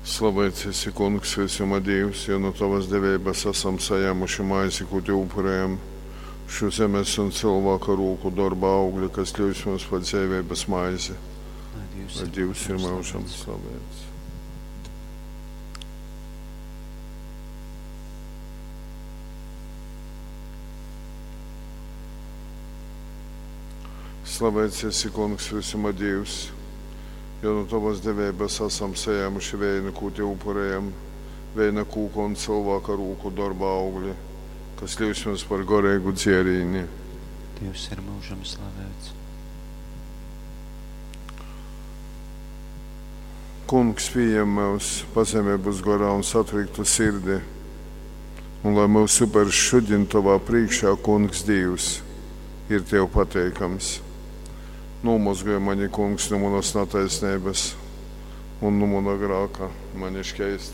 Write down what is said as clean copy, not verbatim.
Slaveits esi, Kungs, vysuma Dīvs, jo nu tovas deveibas asam sajāmuši maizi, kū tev upurējam, šu zemes un cylvāka rūku dorba augli, kas kļūst mums par dzeiveibas maizi. Lai Dīvs Lai ir Dīvs ir myužam myužam slavēts. slaveits. Slaveits esi, Kungs, vysuma Dīvs, jo nu tovas deveibas asam sajāmuši veinu, kū tev upurējam, veina kūka un cylvāka rūku dorba augli, kas kļūst mums par goreigu dzierīni. Dievs ir mūžam slavēts. Kungs pieņem mūs pazemeibas gorā un satriktu sirdi, un lai mūsu upers šodien tavā priekšā, Kungs Dievs, ir tev pateikams. Nomazgāj mani, Kungs, no manas netaisnības un no mana grāka, mani šķeisti.